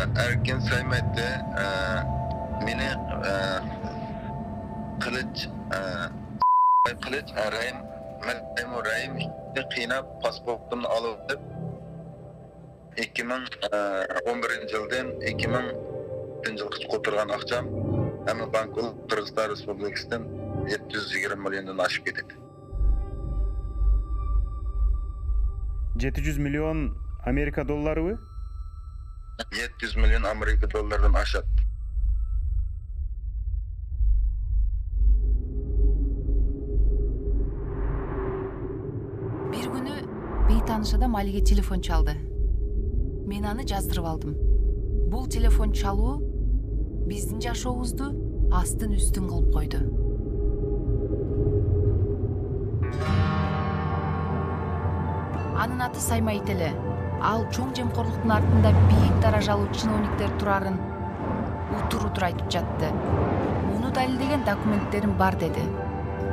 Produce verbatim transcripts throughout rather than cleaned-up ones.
Erkin Saymet'te meni Kılıç Kılıç Rahim Memur Rahim qiynab pasportumni alıp ikki ming o'n birinchi yıldan ikki ming yilga qo'tirgan aqcham hamma bankul Qirg'iziston Respublikasidan yetti yuz yigirma milliondan oshib ketadi. yetti yuz milyon Amerika dollaribi? yetti yuz milyon Amerika dollaridan oshadi. Bir günü beytaныш адам Алиге телефон çaldı. Men аны жаздырып алдым. Бул телефон чалуу биздин жашообузду астын үстүн кылып койду. Анын аты Саймайт эле. Ал чоң жемкорлуктун артында бийик даражалуу чиновниктер турарын утур-утур айтып жатты. Муну далилдеген документтерим бар деди.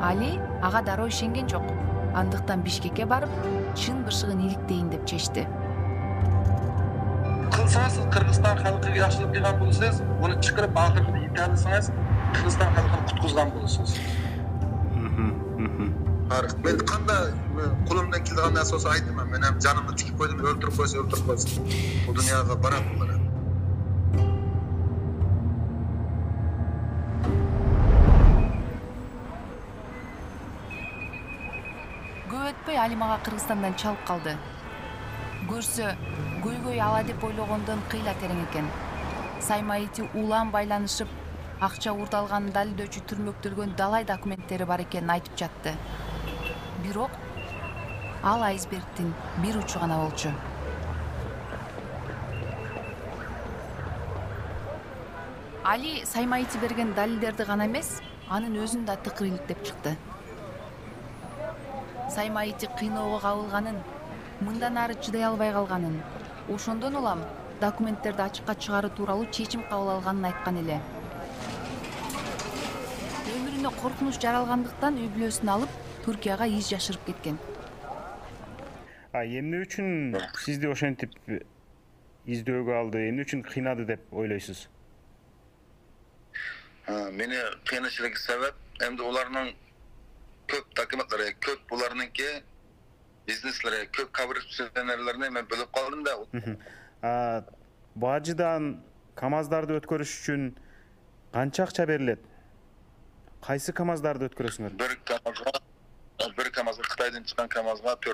Али ага дароо ишенген жок. Андыктан Бишкекке барып, чын бышыгын иликтейин деп чечти. Кылсаңыз Кыргызстан халкыга жакшылык кылган болсоңуз, муну чыгарып акыркы италсаңыз, Кыргызстан халкын куткузган болосуңуз. Мен кандай колумдан келген нерсе болсо айтамын. Мен ham жанымды тикип койдум, өлтүрүп койсо өлтүрүп койсун. Бул дүйнөгө барат булар. Көп өтпөй Али мага Кыргызстандан чалып калды. Көрсө, көйгөй ала деп ойлогондон кыйла терең экен. Саймайти улам байланышып, акча урдалганын далилдөөчү түрмөктөлгөн далай документтери бар экенин айтып жатты. Бирок ал айсбергдин бир учу гана болчу. Али Саймайти берген далилдерди гана эмес, анын өзүн да тыкыр иликтеп чыкты. Саймайти кыйноого кабылганын, мындан ары чыдай албай калганын, ошондон улам документтерди ачыкка чыгаруу тууралуу чечим кабыл алганын айткан эле. Өмүрүнө коркунуч жаралгандыктан үй бүлөсүн алып, Түркияга из жашырып кеткен. А эмне үчүн сизди ошентип издөөгө алды, эмне үчүн кыйнады деп ойлойсуз? Мени кыйнашылык себеп, эмди уларнын көп документтери, көп буларныңки бизнеслери, көп коррупционерлерни мен бөлүп калдым да. А бажыдан КамАЗдарды өткөрүш үчүн канча акча берилет? Кайсы КамАЗдарды өткөрөсүңөр? Бир КамАЗга, бир КамАЗга Кытайдан чыккан КамАЗга